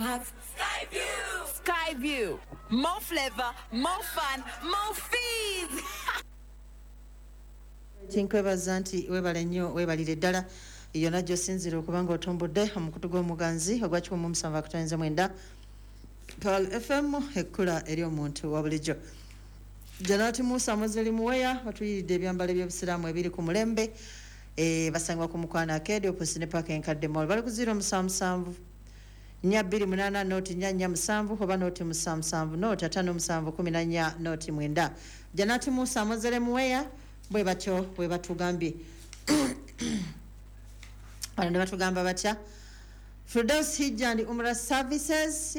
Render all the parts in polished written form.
Have Skyview. Skyview. More flavor, more fun, more fees. Tinkwebaza nti webale nnyo, webalire ddala yonna gy'osinziira okuba nga otumbudde omukutu gw'omuganzi ogwa 107.9 Pearl FM, ekkula eri omuntu wa bulijjo. Janati Musa Muzeli Muweya batuyiridde ebyambalo ebyobusiraamu ebiri ku mulembe. Basangibwa ku Mukwano Arcade opposite ne Park Enkadde Mall. Bali ku 077 428 0 447 oba 077 057 14 09. Janati Musa Muzeli Muweya bwe batyo bwe batugambye. Bano ne batugamba batya? Firdaus Hijja and Umrah Services,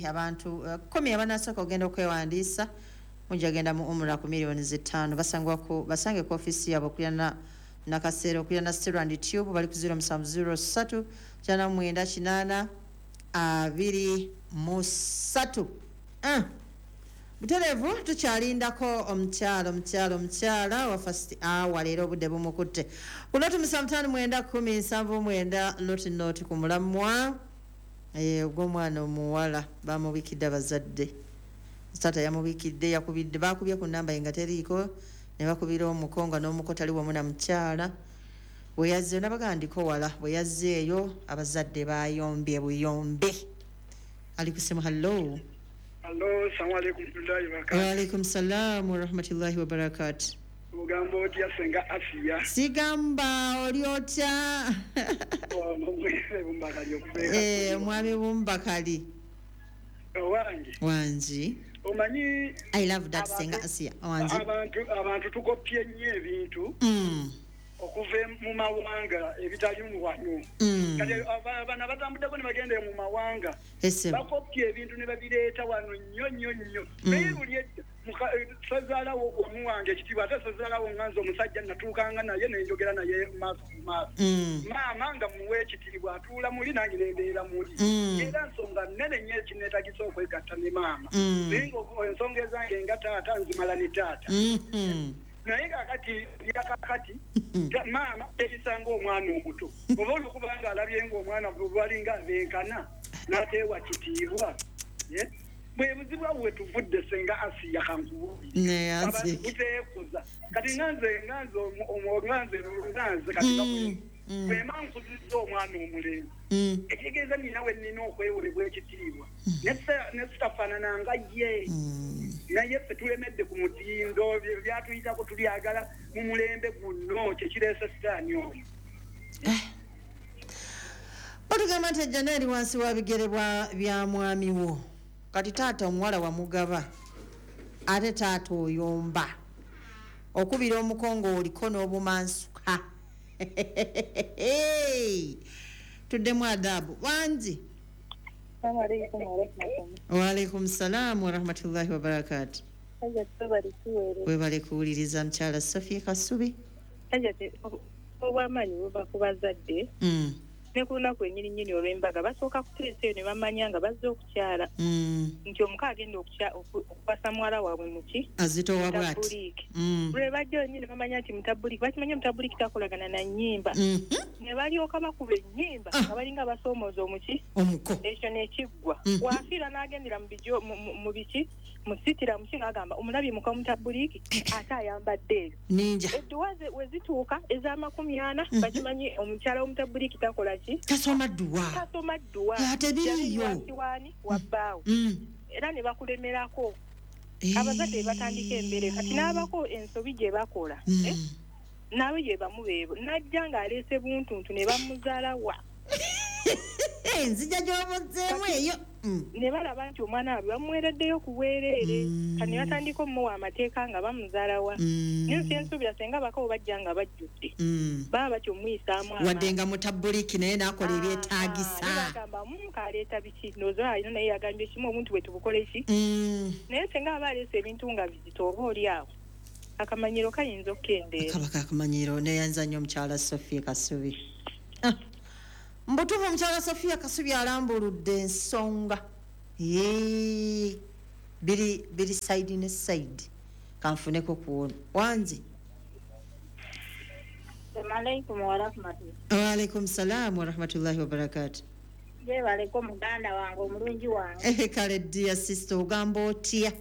abantu 10 abanasooka ogenda okwewandiisa mujja genda mu Umrah ku miliyoni 5. Basangwa ku basange ku ofisi yaabwe okuliraana Nakaseera, okuliraana Sterand Tube. Bali ku 0703 9 8 23. Butereevu tukyalindako omukyala, omukyala, omukyala wa first hour. Leero obudde bumukutte ku 0 75 9 10 79 00 ku mulamwa ogw'omwana omuwala bamubikidde abazadde. Taata yamubikidde, yakubidde, bakubye ku namba ye nga teriiko, ne bakubira omuko nga n'omuko tali wamu na mukyala. Bwe yazzeeyo nabaga ndiko wala, bwe yazzeeyo abazadde bayombye buyombe. Ali ku simu. Hallo. Allo, salamu alaikum warahmatullahi wabarakatuh. Waalaikum salam warahmatullahi wabarakatu. Ogamba otya, Senga Asiya? Sigamba, oli otya? Bumbakali. Omwami Bumbakali. Owange. Wangi. Omanyi I love that. Senga Asiya, wangi. Abantu tukopye nnyo ebintu okuva mu mawanga ebitali mu wano. Kati bano abatambuddeko ne bagenda mu mawanga Ese. bakopya ebintu ne babireeta wano nnyo nnyo nnyo. Naye buli edda sezaalawo omuwange ekitiibwa, ate sezaalawo nga nze omusajja natuukanga naye nenjogera naye maaso ku maaso. Maama nga muwa ekitiibwa, atuula muli nange nembeera muli. Era nsonga nnene nnyo ekineetagisa okwegatta ne maama. Naye nga ensonga ezange nga taata nzimala ne taata. Naye kakati yakakati maama erisanga omwana omuto, oba olwokubanga alabye nga omwana balinga abenkana n'ateewa kitiibwa. Ye? Bwe buzibu awo wetuvudde, Senga Asiya, kankubuulire. Neyanzi. Abantu buteekuza. Kati nga nze kati nga bwema nkuzizza omwana omulenzi, ekitegeeza nina we nnina okwewolebwa ekitiibwa ne sitafaanana nga ye. Naye ffe tulemedde ku mutindo byatuyitako tulyagala mu mulembe guno, kyekireese sitaani oyo. Batugamba nti ejjana eri wansi wa bigere bya mwami wo. Kati taata omuwala wamugaba, ate taata oyomba okubira omukongo oliko n'obumansuka. Tuddemu adabu. Wangi. Assalamu warahmatullahi. Waalaikum salaamu warahmatullahi wabarakatu. Hajjat, webale tuweereza. Webale kuwuliriza, mukyala Sofia Kasubi. Hajjat, obwamaanyi buva ku bazadde. Ne ku lunaku ennyini nnyini olw'embaga basooka kuteesa eyo ne bamanya nga bazze okukyala nti omuka agenda okuwasa muwala waabwe muki Azitowa bw'ati. Mutabuliiki. Lwe bajja onyini ne bamanya nti mutabuliiki, bakimanya mutabuliiki takolagana na nnyimba, ne balyoka bakuba ennyimba nga balinga basoomooza omuki omuko. Ekyo nekiggwa. Wafiira n'agendera mu bijo mu biki musitira muki ng'agamba omulabye muka mutabuliiki ate ayambadde ebyo. Ninja. Edduwa we zituuka ez'amakumi ana, bakimanyi omukyala w'omutabuliiki takola ki? Tasoma dduwa. Tasoma dduwa. Ate biriyo. Yali waani wa bbaawe. Era ne bakulemerako. Abazadde be batandika embeera kati n'abako ensobi gye bakola, eh? Naawe gye bamu beebo najja ng'aleese buntuntu ne bamuzaala wa. Nzija gy'obuzzeemu eyo. Ne balaba nti omwana waabwe bamuweereddeyo ku bwereere. Kati ne batandika omuwa amateeka nga bamuzaala wa. Naye nsi ensuubira senga abakawo bajja nga bajjudde, baba batyo omuyisaamu Wadde amaanyi. nga mutabuliiki naye n'akola ebyetaagisa. Ne bagamba muka aleeta biki, ndowooza alina naye yagambye kimu obuntu bwe tubukole ki. Naye senga aba aleese ebintu nga bizito, oba oli awo akamanyiro kayinza okukendeera. Kaba kakamanyiro. Neyanza nnyo, omukyala Sofia Kasubi. Ah, mbutuufu omukyala Sofia Kasubi alambuludde ensonga. Yee, biri biri side ne side. Kanfuneko kuwono. Wangi. Assalamu alaikum warahmatullahi. Waalaikum salam warahmatullahi wabarakatu. Jebaleko muganda wange omulungi wange. Kale dear sister, ogamba otya?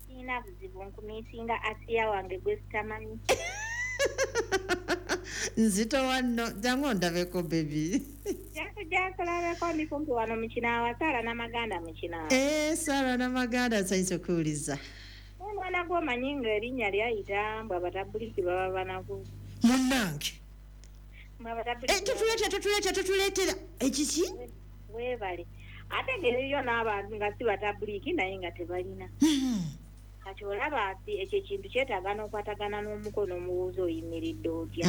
Sirina buzibu, nkumiisinga Asiya wange gwe sitamanyi. Nzito wano, jangu ondabeko baby. Jakulabeko ndi kumpi wano mu Kinaawa, Saara Namaganda mu Kinaawa. Saara Namaganda, nsanyuse okuwuliza. Omwana gw'omanyi ng'erinnya lyayita mbu abatabulisi baba banaku. Munnange. Tutuleetera ekiki? Weebale. Ate ng'eriyo n'abantu nga si batabuliki naye nga tebalina. Kati olaba ekyo ekintu kyetaaga n'okwatagana n'omukono omuwuuza oyimiridde otya.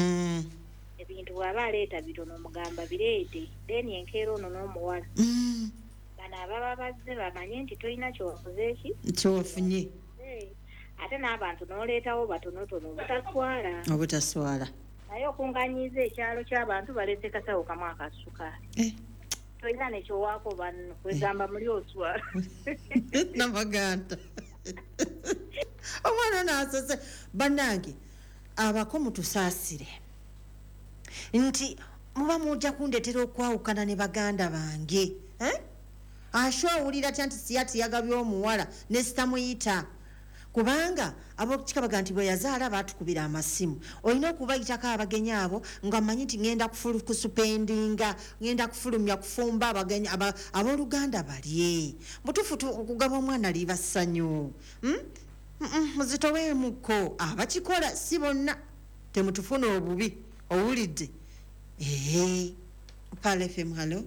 Ebintu bw'aba aleeta bitono omugamba bireete, then enkeera ono n'omuwala. Bano ababa bazze bamanye nti tolina kyewakoze eki? Kyewafunye. Ate n'abantu n'oleetawo batonotono obutaswala. Obutaswala. Naye okunganyiza ekyalo ky'abantu baleese kasawo kamu akasukaali. Tolina nekyowaako banno, kwegamba muli oswala. Namaganda. Omwana ono asose. Bannange, abako mutusaasire nti muba mujja kundeetera okwawukana ne baganda bange. Asho awulira atya nti siyati yagabye omuwala ne sitamuyita. Kubanga ab'okukika baga nti bwe yazaala baatukubira amasimu. Olina okubayitako abagenyi abo nga mmanyi nti ngenda kusupendinga, ngenda kufulumya kufumba abagenyi abooluganda balye. Butuufu okugaba omwana liba ssanyu. Muzitoweemuko abakikola si bonna, temutufuna obubi. Owulidde? Pearl FM, hello.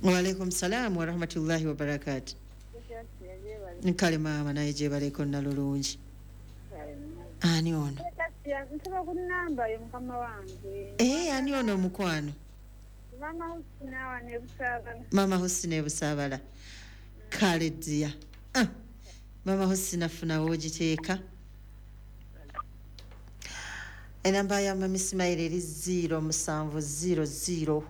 Wa alaikum salam wa rahmatullahi wa barakatuh. Nkale maama naye gyebaleko nalulungi. Ani ono? Nsaba ku nnamba yo mukama wange. Ani ono omukwano? Mama Husina wa Nebusaabala. Mama Husina Ebusaabala. Kale ddiya. Mama Husina funa w'ogiteeka. Enamba ya Mama Ismail eri 0700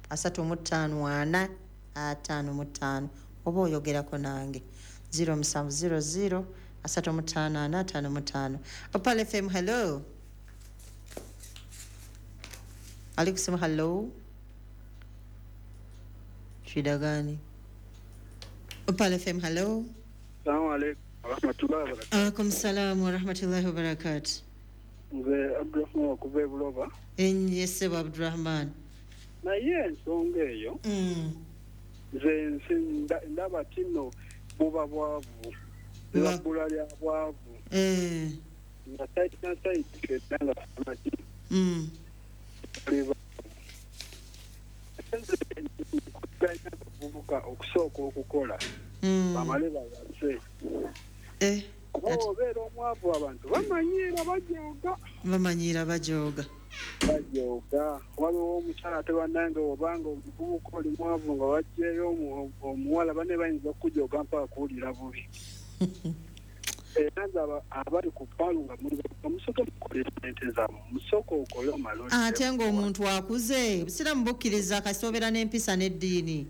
35 4 55. Oba oyogerako nange. 0700 35 4 55. Opal FM, hello. Ali kusema hello. Shida gani? Opal FM, hello. Assalamu alaikum wa rahmatullahi wa barakatuh. Alaikum salam wa rahmatullahi wa barakatuh. Nze Abdurrahman okuva e Buloba. Yes, Abdurrahman. Naye ensonga eyo nze ndaba kino buba bwavu, buba lya bwavu. Nga saiti nga samaki. Okusooka okukola bamale bawase. Kuba obeera omwavu abantu bamanyiira bajooga. Bamanyiira bajooga. Bajooga. Waliwo omukyala ate bannange obanga omuvubuka oli mwavu nga waggyeyo omuwala banne bayinza okujooga mpaka kuwulira bubi. Era nze abali ku ppaalu nga muli musooke mukole ssente zammwe, musooke okole omale. Ate ng'omuntu akuze, obusiraamu bukkiriza kasita obeera n'empisa n'eddiini.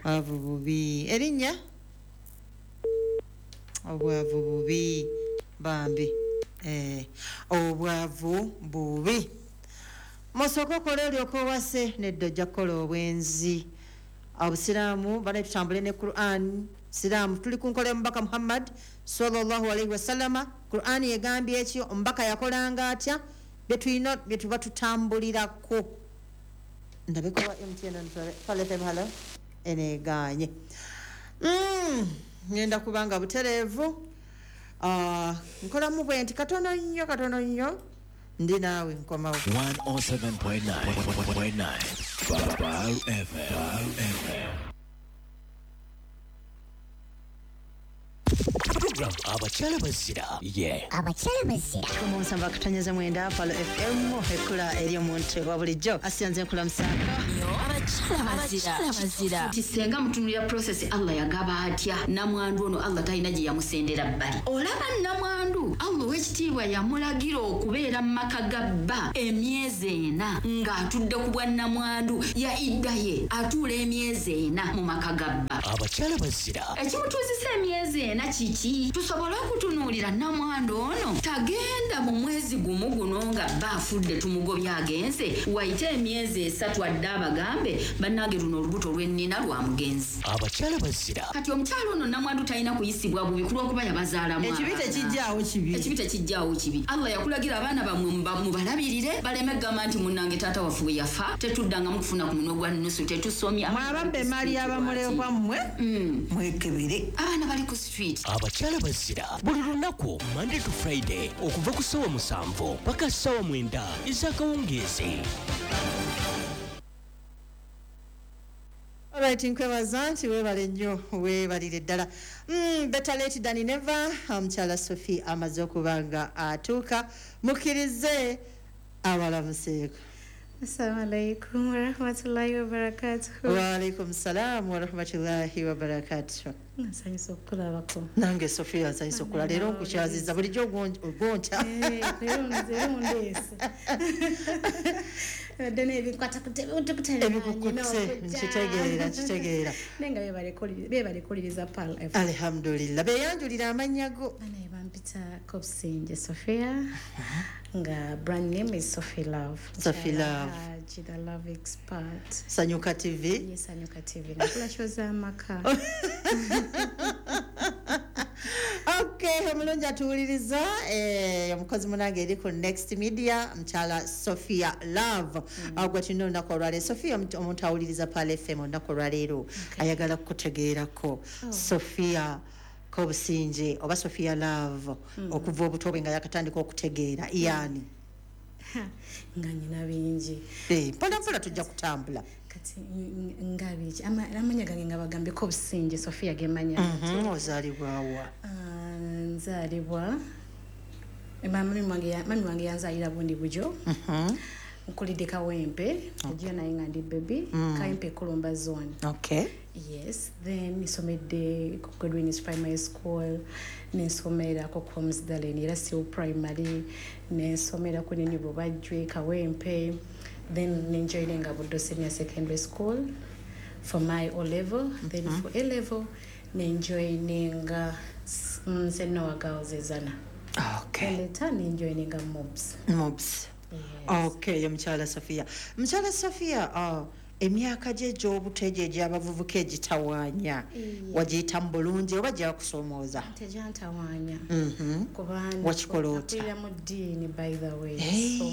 Bwavu bubi. Erinnya? Obwavu bubi bambi. Obwavu bubi. Musooke okole olyoke owase, nedda ojja kukola obwenzi. Obusiraamu bane tutambule ne Quran. Siraamu tuli ku nkola y'omubaka Muhammad sallallahu alaihi wasallama. Quran egambye ekyo, omubaka yakolanga atya, bye tulina bye tuba tutambulirako. Ndabeko wa MTN Pearl FM, hello. Eneeganye. Ngenda kubanga butereevu. Nkolamu bwe nti katono nnyo katono nnyo ndi naawe nkomawo. 107.9 Pearl FM. Program Abakyala Bazira. Abakyala Bazira. Omunsamba akutonyeza mwenda Pearl FM ekula eri omuntu wa bulijjo. Asiyanze nkula musaako. Abakyala Bazira. Nti senga mutunulira process Allah yagaba atya namwandu ono Allah talina gye yamusendera bbali. Olaba namwandu Allah ow'ekitiibwa yamulagira okubeera mu maka ga bba emyezi 4 ng'atudde ku bwa namwandu ya idda ye atuula emyezi 4 mu maka ga bba. Abakyala Bazira. Ekimutuuzisa emyezi 4 kiki? Tusobole okutunuulira namwandu ono tagenda mu mwezi gumu guno nga bba afudde tumugobye agenze, wayite emyezi 3 adde abagambe bannange luno olubuto lwennina lwa mugenzi. Abakyala bazira. Kati omukyala ono namwandu talina kuyisibwa bubi ku lw'okuba yabazaalamu Ekibi abaana. tekijjaawo kibi. Ekibi tekijjaawo kibi. Allah yakulagira abaana bammwe mubalabirire baleme kugamba nti munnange taata waffe bwe yafa tetuddangamu kufuna ku munwe gwa nnusu, tetusomye. Mwabampa emaali y'abamulekwa mmwe mwekebere. Abaana bali ku street. Abakyala bazira buli lunaku Monday to Friday okuva ku ssaawa 7 paka ssaawa 9 ez'akawungeezi. Alright, nkwebaza nti weebale nnyo, weebalire ddala. Better late than never. Omukyala Sophie amaze okuba nga atuuka, mukkirize abalamuseeko. Assalamu alaikum warahmatullahi wabarakatuh. Wa alaikum salam warahmatullahi wabarakatuh. Nsanyusa okukulabako. Nange Sophia nsanyusa okula leero nkukyaziza bulijjo ogonca. Leero mundeese. Ebadde n'ebinkwata Ebikukutte, nkitegeera. Naye nga beebale kuwuliriza Pearl FM. Alhamdulillah. Beeyanjulira amannya go. Banaye bampita Kobusinge Sophia nga brand name is Sophie Love. Sophie Love. Haji, the love expert. Sanyuka TV. Yes, Sanyuka TV. Nakola show z'amaka. Okay, omulungi atuwuliriza, omukozi munange eri ku Next Media, mukyala Sophia Love. Gwe tulina olunaku olwaleero. Sophia, omuntu awuliriza Pearl FM olunaku olwaleero ayagala kukutegeerako. Sophia Kobusinge oba Sophia Love, okuva obuto bwe nga yakatandika okutegeera yaani? Nga nnyina bingi. Mpola mpola tujja kutambula. Kati nga biki amannya gange nga bagambye Kobusinge Sophia ge mannya. Ozaalibwa wa? Nzaalibwa mami wange yanzaalira Bundi Bujo. Nkulidde Kawempe, ojja naye nga ndi baby, Kawempe Kulumba zone. Okay. Yes, then nsomedde ku Godwin's Primary School, nensomera ku Comsdalen era still primary, nensomera ku Nini Bubajjwe Kawempe, then nenjoininga Buddo Senior Secondary School for my O level, then for A level nenjoininga Senoa Girls Ezana. Okay. Later nenjoininga MOBS. MOBS. Yes. Okay, mukyala Sophia. Mukyala Sophia, emyaka gye egy'obuto egyo egy'abavubuka egitawaanya wagiyita mu bulungi oba gyakusoomooza? Tegyantawaanya. Kubanga Wakikola otya? nakulira mu ddiini by the way. So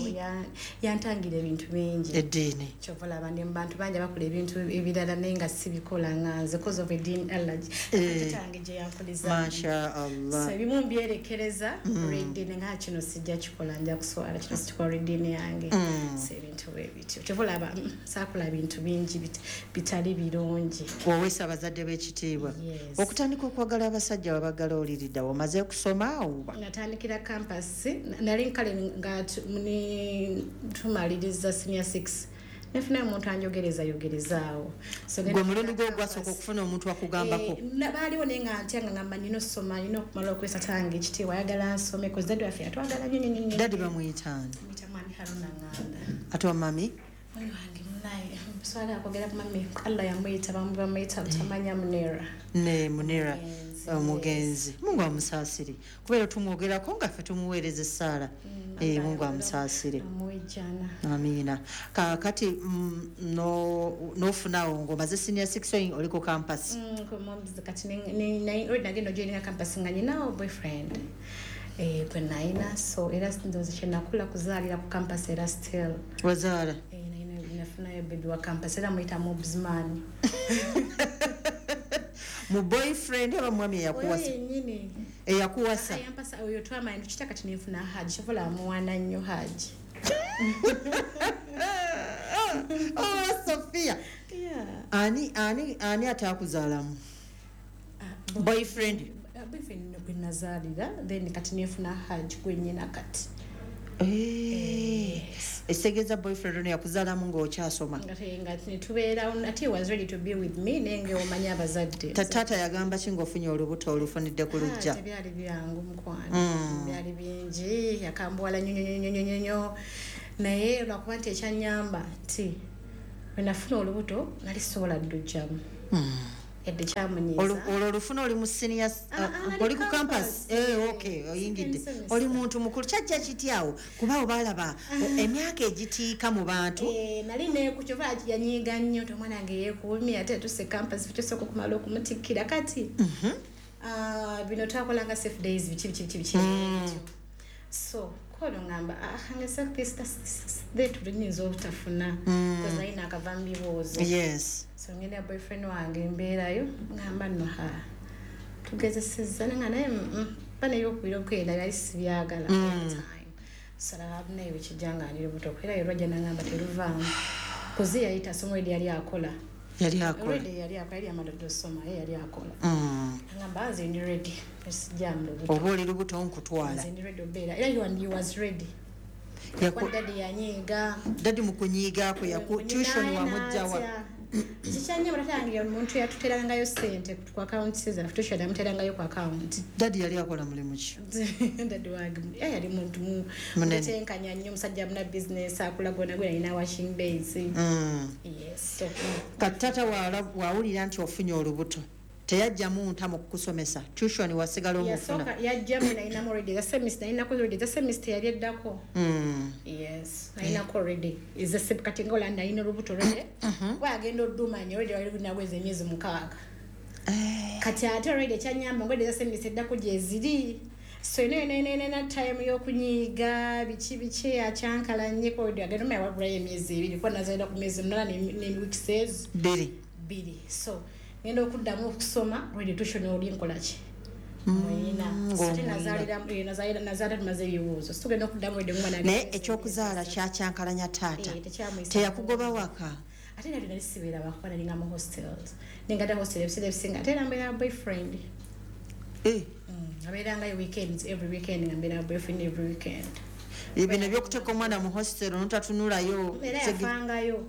yantangira ebintu bingi. Eddiini. Kyova olaba ndi mu bantu bangi abakola ebintu ebirala naye nga sibikola nga nze cause of eddiini allergy. Taata gye yankuliza. Masha Allah. So ebimu mbyerekereza olw'eddiini nga kino sijja kikola nja kuswala, kino sikikola olw'eddiini yange. So ebintu bwe bityo. Kyova olaba saakola bintu bingi bitali birungi. Oweesa abazadde b'ekitiibwa. Yes. Okutandika okwagala abasajja wabagala oliridda omaze kusoma oba? Natandikira campus, nali nkale nga tumaliriza senior 6. Nefuna omuntu anjogereza yogerezaawo. So Gwe mulundi gwo gwasooka okufuna omuntu akugambako? Baaliwo naye nga ntya nga ngamba nnina okusoma, nnina okumala okwesa tange ekitiibwa, ayagala nsome, 'cause daddy waffe yatwagala nnyo nnyo nnyo. Daddy bamuyita ani? Bamuyita Mwami Haruna Nganda. Ate wa mami? Mami wange munaye, swala akwogera ku mami, Allah yamuyita, bamuyita Butamanya Munera. Ne Munera, omugenzi. Mungu amusaasire. Kubeera tumwogerako nga ffe tumuweereza essaala. Mungu amusaasire. Amuwe jjana. Amiina. Kaakati n'ofunawo ng'omaze senior 6 oli ku campus. Ku MOBS, kati already nagenda ojoininga campus nga nninawo boyfriend. Gwe nayina, so era ndowooza kye nakula kuzaalira ku campus era still. Wazaala? Nafunayo baby wa campus era muyita MOBS man. Mu boyfriend oba mwami eyakuwasa? Oyo yennyini. Eyakuwasa? Yampasa oyo twamanya tukita kati nenfuna Haji, kyova olaba muwaana nnyo Haji. Oh, Sophia. Ani ataakuzaalamu? Boyfriend? Boyfriend gwe nazaalira, then kati nenfuna Haji gwe nnyina kati. Ekitegeeza boyfriend ono yakuzaalamu ng'okyasoma. Nga netubeerawo, ate he was ready to be with me, naye nga omanyi abazadde. Taata yagamba ki ng'ofunye olubuto olufunidde ku luggya? Tebyali byangu mukwano, byali bingi, yakambuwala nnyo nnyo nnyo nnyo nnyo. Naye lwakuba nti ekyannyamba nti bwe nafuna olubuto nali sisobola ddujjamu. Yadde kyamunyiiza. Olwo olufuna oli mu senior, oli ku campus. Okay, oyingidde, oli muntu mukulu. Kyajja kityawo kuba obalaba emyaka egitiika mu bantu? Nali nekukyova yanyiiga nnyo nti omwana wange yeekuumye, ate tuse campus, kyosooka okumala okumutikkira kati. Bino twakolanga safe days, biki biki biki biki ebyo. So kono ngamba, nga tuliyinza obutafuna, because nali nakava mu bibuuzo. So ngenda boyfriend wange mbeerayo, ngamba nno ha tugezesezza, nga naye ba nebyokubira okwenda byali sibyagala all the time. So naye bwekijja nga ndi lubuto, era lwajja nangamba teruvaamu, kuzi yali tasoma already, yali akola. Yali akola. Already yali akola, yali amadde osoma, ye yali akola. Angamba nze ndi ready, sijja mu lubuto. Oba oli lubuto nkutwala. Nze ndi ready obeera, era he was ready. Kwa daddy yanyiiga. Daddy mu kunyiiga kwe tuition wamugjawa? Kikyanye batatangira omuntu yatuterangayo ssente ku account zaffe, tuition yamuterangayo ku account. Daddy yali akola mulimu ki? Daddy wange yali muntu Munene. mutenkanya nnyo, omusajja muna business akula gona gwe alina washing base. Yes. So, Kati taata wawulira nti ofunye olubuto, teyajjamu nta mu kukusomesa? Tuition wasigala omufuna? Yasooka yajjamu, nalinamu already eza semester, nalinako already eza semester yali eddako. Yes, nalinako already eza kati nga olaba nalina olubuto already. Kuba agenda oddumanya already wali lunaweza emyezi 6. Kati ate already ekyanyamba nga already eza semester eddako gyeziri. So eno eno eno eno time y'okunyiiga biki biki akyankalanye ko already agenda omanya wabulayo emyezi 2, kuba nazalira ku myezi 8 ne weeks ezo. 2. 2. So ngenda okuddamu okusoma already tuition oli nkola ki? Muyina. So ate nazaalira tumaze ebibuuzo. So tugenda okuddamu already omwana Naye agenda ekyokuzaala kyakyankalanya taata. Tekyamuyisa. Teyakugoba waka? Ate nali nali sibeera waka, nalinga mu hostels. Nenga hostel ebiseera ebisinga, ate era mbeera boyfriend. Abeerangayo weekends, every weekend nga mbeera boyfriend every weekend. Bino ebyokuteeka omwana mu hostel n'otatunulayo, Era yafangayo.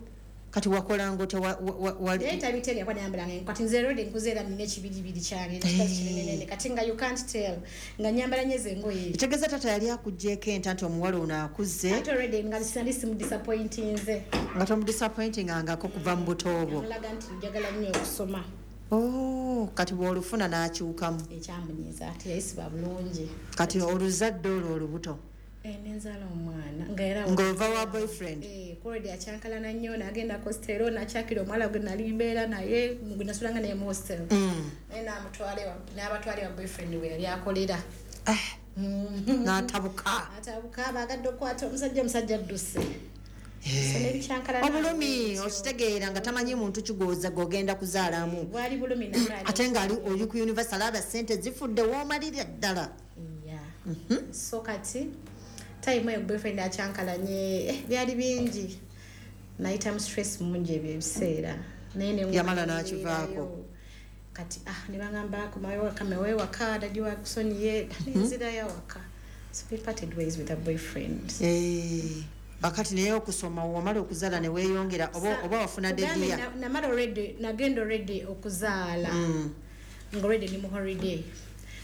Kati wakolanga otya? Wali Naye tabitegeera kuba nayambalanga engoye. Kati nze already nkuze era nina ekibiribiri kyange, ekikazi kinenenene. Kati nga you can't tell nga nyambala nnyo ezo engoye. Kitegeeza taata yali akuggyeeko enta nti omuwala ono akuze. Ate already nga sinali simudisappointinze. Nga tomudisappointingangako kuva mu buto bwo. Namulaga nti njagala nnyo okusoma. Oh, kati bw'olufuna n'akyukamu. Ekyamunyiiza ate yayisibwa bulungi. Kati oluzadde olwo olubuto? Nenzala omwana nga era Ng'ova wa boyfriend? Already akyankalana nnyo, n'agenda ku hostel, n'akyakira omuwala gwe nali mbeera naye, gwe nasulanga naye mu hostel. Naye n'abatwala ewa boyfriend we yali akolera. N'atabuka. N'atabuka, baagadde okukwata omusajja, omusajja adduse. So n'ebikyankalana Obulumi ebyo. okitegeera nga tamanyi muntu kigooza gw'ogenda kuzaalamu. Bwali bulumi nakaali. Ate ng'ali oli ku university alaba ssente zifudde w'omalira ddala. Yeah. So kati time eyo boyfriend akyankalanye, byali bingi. Nayitamu stress mungi ebyo ebiseera. Naye ne Yamala nguma n'akivaako. nebeerayo. Kati ne bangamba komayo waka, mewe waka, daddy wakusonyiye, nenzirayo waka. So we parted ways with a boyfriend. Bakati naye okusoma wamala okuzaala ne weeyongera oba wafuna Kugambe dedia? namala already, nagenda already okuzaala. Nga already ndi mu holiday.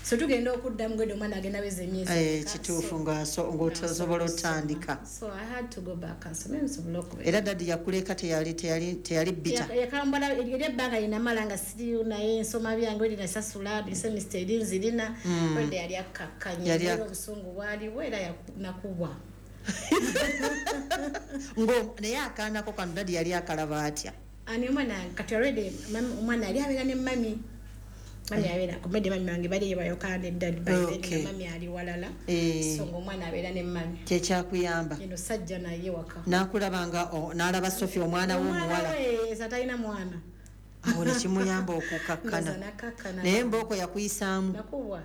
So tugenda okuddamu ng'edda omwana agenda aweza emyezi emeka. Kituufu So, ng'osobola otandika. So I had to go back and nsome nsobole okubeera. Era daddy yakuleka teyali bitter. Yakambala eri ebbanga lye namala nga siriyo naye nsoma byange, already nasasula semester eri nzirina. Already yali akkakkanye. Yali Era obusungu bwaliwo era nakubwa. Ngo naye akaanako kano daddy yali akalaba atya? Ani omwana kati already omwana yali abeera ne mami. Mami abeera ku medi, mami wange bali bayokaana ne daddy by then, nga mami ali walala. So ng'omwana abeera ne mami. Kyekyakuyamba. Eno sajja naye waka. N'akulaba nga n'alaba Sophie omwana we Omwana omuwala. we, talina mwana. Awo ne kimuyamba okukakkana. Ndowooza n'akakkana. Naye mbooko yakuyisaamu. Nakubwa.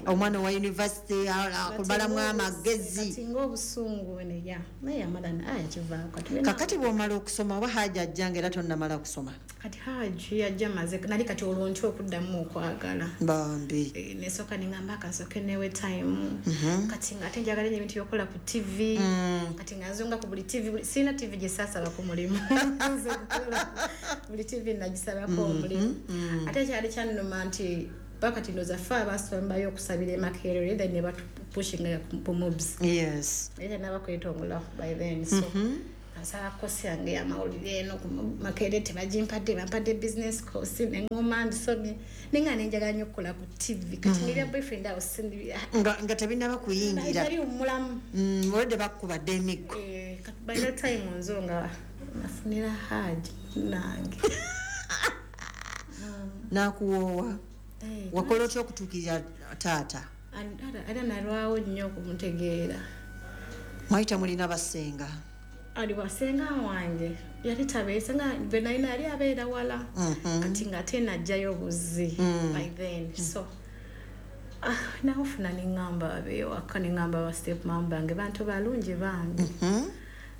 Omwana wa university, akubalamu amagezi. Kati ng'obusungu ne ya. Naye yamala yakivaako. Kati Kakati bw'omala okusoma oba Haji ajja nga era tonnamala kusoma? Kati Haji yajja maze, nali kati olwo ntya okuddamu okwagala. Bambi. Nesooka ne ngamba akansooke newe time. Kati nga ate njagala nnyo ebintu by'okukola ku TV. Kati nga nzunga ku buli TV, sirina TV gye saasaba ku mulimu. Nze kukola. Buli TV nagisabako omulimu. Ate kyali kyannuma nti bakati ndowooza ffe abaasombayo okusabira e Makerere, then ne batupushinga ku mobs. Era naba kwetongola by then. So, Nsaba course yange y'amawulire eno ku Makerere tebagimpadde, bampadde business course, neŋŋoma mbisomye, naye nga nenjagala nnyo okukola ku TV. Kati nirya boyfriend awo sindi Nga tebinnaba kuyingira. Nali omulamu. Olwedde bakubadde emiggo. Eh, kati by that time nzo nga nafunira Haji nange. N'akuwoowa. Eh, Wakola otya okutuukirira taata? Era nalwawo nnyo okumutegeera. Mwali temulina basenga? Ali wasenga wange yali tabeese, nga bwe nalina yali abeera wala. Kati ng'ate najjayo buzzi by then, so nawufuna neŋŋamba abeewaka, neŋŋamba ba step mum bange bantu balungi bange.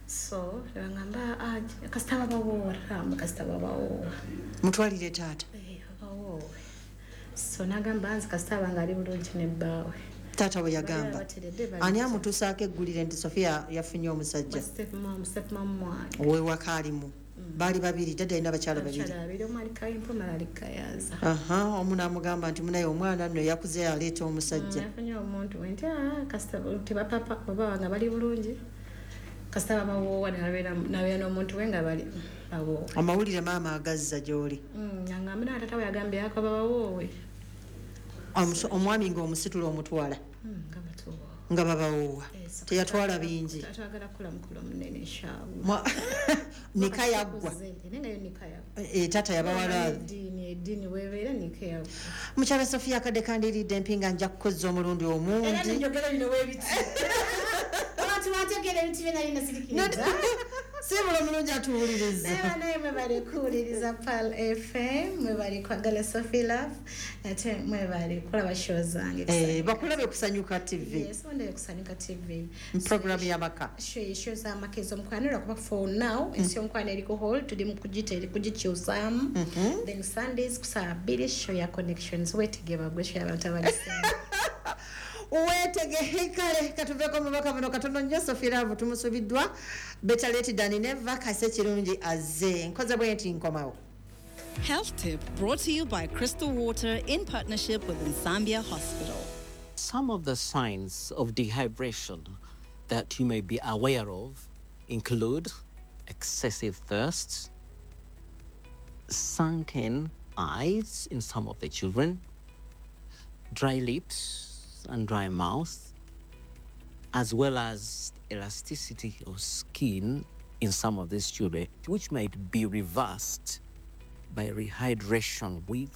So nebaŋŋamba, "Ah, kasita babawoowa, tamba kasita babawoowa." Mutwalire taata. Eh, babawoowe. So nagamba nze kasita abange ali bulungi nebbaawe. Taata bwe yagamba? Bateredde bali. Ani amutuusaako eggulire nti Sofia yafunye omusajja? Step mum, step mum wange. Owewaka alimu baali babiri, dadda alina abakyala babiri. Abakyala babiri, omu ali Kawempe, omulala ali Kayaza. Aha, omu n'amugamba nti munaye omwana nno yakuze aleeta omusajja. Yafunye omuntu we nti, "Ah, kasita tebapapa, baba nga bali bulungi, kasita babawoowa," nabeera n'omuntu we nga bali bawoowe. Amawulire maama agazza gy'oli? Angamba na tata we yagambye ako babawoowe. Omwami ng'omusitula omutwala? Nga batuwoowa. Nga babawoowa. Eh, so Teyatwala bingi. Twagala kukola mukolo munene, inshallah. Nika yaggwa? Naye nga yo nika yaggwa. Eh, taata yabawala. Eddiini webeera nika yaggwa. Mukyala Sofia, akadde kandiridde empinga, nja kukozza omulundi Era omundi. Nenjogera bino webiti, abantu bantegeera ebintu byena binasirikiriza. Siibula omulungi atuwuliriza. Naye banaye mwebale kuwuliriza Pearl FM, mwebale kwagala Sophie Love, ate mwebale kulaba show zange. Eh, bakulabe Kusanyuka TV. Yes, wondeyo Kusanyuka TV. Programu y'amaka. Show z'amaka ez'omukwano, lwakuba for now ensi y'omukwano eri ku hold, tuli mu kugikyusaamu. Then Sundays ku saa 2, show ya Connections, weetege bagwe, show y'abantu abalisinga. Weetegehe. Kale katuveeko mubaka buno katono nnyo. Sophie Love tumusubiddwa, better late than never, kase kirungi azze. Nkoze bwe nti nkomawo. Health Tip brought to you by Crystal Water in partnership with Nsambya Hospital. Some of the signs of dehydration that you may be aware of include excessive thirst, sunken eyes in some of the children, dry lips and dry mouth, as well as elasticity of skin in some of these children, which might be reversed by rehydration with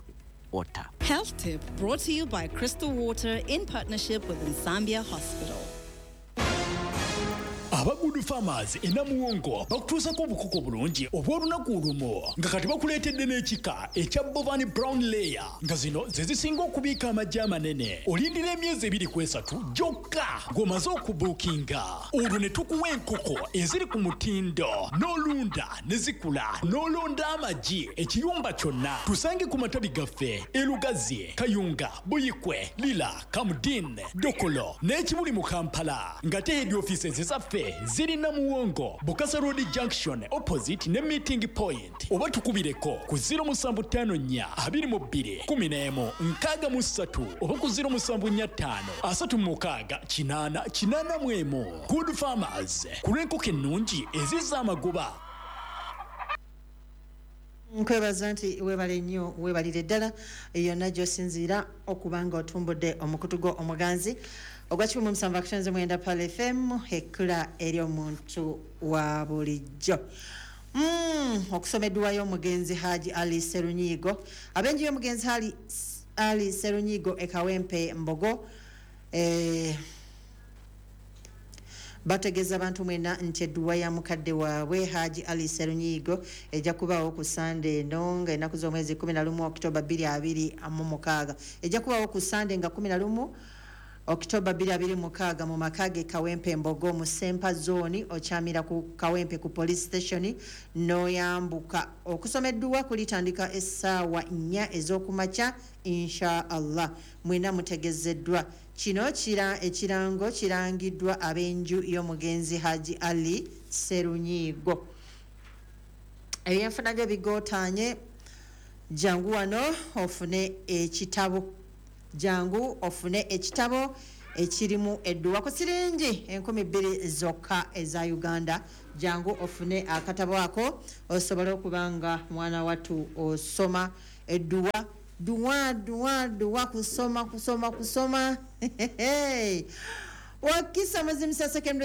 water. Health Tip brought to you by Crystal Water in partnership with Nsambya Hospital. Aba Good Farmers e Namuwongo bakutuusako obukoko bulungi obw'olunaku olumu, nga kati bakuleetedde n'ekika ekya Bovani Brown Layer, nga zino ze zisinga okubiika amagi amanene. Olindira emyezi 2 ku 3 gyokka ng'omaze okubuukinga, olwo ne tukuwa enkoko eziri ku mutindo, n'olunda ne zikula, n'olonda amagi ekiyumba kyonna. Tusange ku matabi gaffe e Lugazi, Kayunga, Buyikwe, Lira, Kamdin, Dokolo n'Ekibuli mu Kampala, nga te head offices zaffe ziri Namuwongo, Bukasa Road Junction, opposite ne Meeting Point, oba tukubireko ku 0754 22 11 63 oba ku 0745 36 8 81. Good Farmers, ku lw'enkoko ennungi ezizza amagoba. Nkwebaza nti weebale nnyo, weebalire ddala yonna gy'osinziira okuba nga otumbudde omukutu gwo omuganzi ogwa 107.9 Pearl FM, ekkula eri omuntu wa bulijjo. Okusoma edduwa y'omugenzi Haji Ali Serunyigo, ab'enju y'omugenzi Ali Serunyigo e Kawempe Mbogo, bategeeza abantu mwena nti edduwa ya mukadde waabwe Haji Ali Serunyigo ejja kubaawo ku Sande eno nga ennaku z'omwezi 11 Okitoba 2026. Ejja kubaawo ku Sande nga 11 Okitoba 2026 mu maka ge Kawempe Mbogo mu Sempa Zone. Okyamira ku Kawempe ku police station n'oyambuka. Okusoma edduwa kulitandika essaawa 4 ez'okumakya, insha Allah. Mwena mutegezeddwa. Kino kira ekirango kirangiddwa ab'enju y'omugenzi Haji Ali Serunyigo. Ebyenfuna byo bigootaanye, jangu wano ofune ekitabo, jangu ofune ekitabo. Ekirimu edduwa ku siringi 2000 zokka eza Uganda. Jangu ofune akatabo ako osobole okuba nga mwana wattu osoma edduwa, duwa duwa duwa, kusoma kusoma kusoma. Wakisa Muzimusa Secondary.